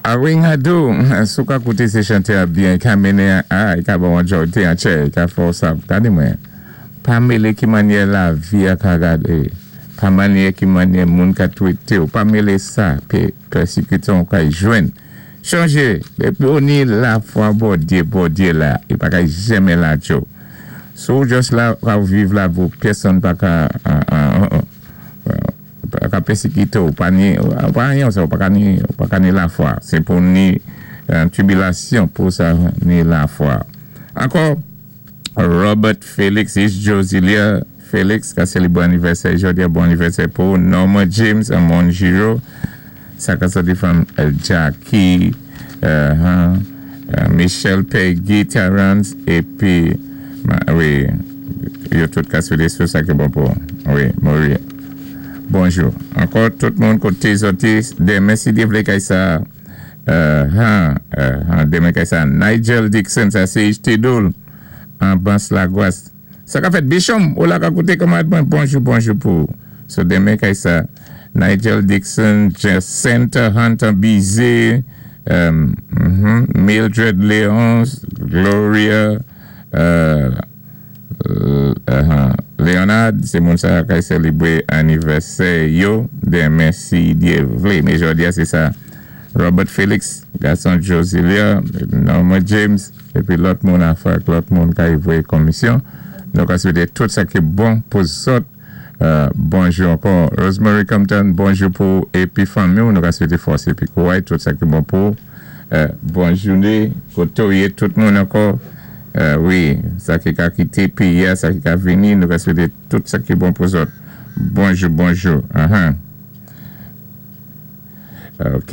Awing Ado, si ou ka kouté sé chanté a byen, i ka mennen, a, i ka ba-w an jòté an tchè, i ka fè sa, gadé mwen. Pa mélé ki mannyè lavi a ka gadé, pa mannyè ki mannyè moun ka twété ou, pa mélé sa, pé pèsikisyon ka jwenn. Chonjé, dépi ou ni lafwa Bondyé, Bondyé la, i pa ka janmen laché ou. Si ou just la, ka viv lavi ou, pèsonn pa ka, pa ka pèsikité ou, pa ni, pa anyen sa, ou pa ka ni lafwa. Sé pou ni tribilasyon pou sa ni lafwa. Ankò, Robert Felix, is Josilia Felix, ka sélébwé anivèsè jòdi a, bon anivèsè pou Norma James and Monjiro, sa ka sòti from Jackie, Michelle Peggy Terrence, épi, wi, yo tout ka swété sou sa ki bon pou, wi, Maria. Bonjou. Ankò tout moun koté sòti, denmen si Dye vlé kay sa, denmen kay sa, Nigel Dixon, sa sé H.T. Dole, an Bans Lagwas. Sa ka fèt Bichon, ou la ka kouté kanmad mwen, bonjou, bonjou pou. So denmen kay sa, Nigel Dixon, Jacinta Hunter Bizet, Mildred Leonce, Gloria, Leonard, sé moun sa kay sélébwé anivèsè yo, denmen si Dye vlé. Men jòdi a sé sa, Robert Felix, gason Josilia, Norma James, épi lòt moun afak, lòt moun kay voyé komisyon. Nou ka swété tout sa ki bon pou zòt. Bonjou ankò. Rosemary Compton, bonjou pou épi fanmi ou. Nou ka swété fòs épi kouray, tout sa ki bon pou. Bon jouné, koté ou yé tout moun ankò. Wi, sa ki ka kité péyi, sa ki ka vini, nou ka swété tout sa ki bon pou zòt. Bonjou, bonjou. Ok.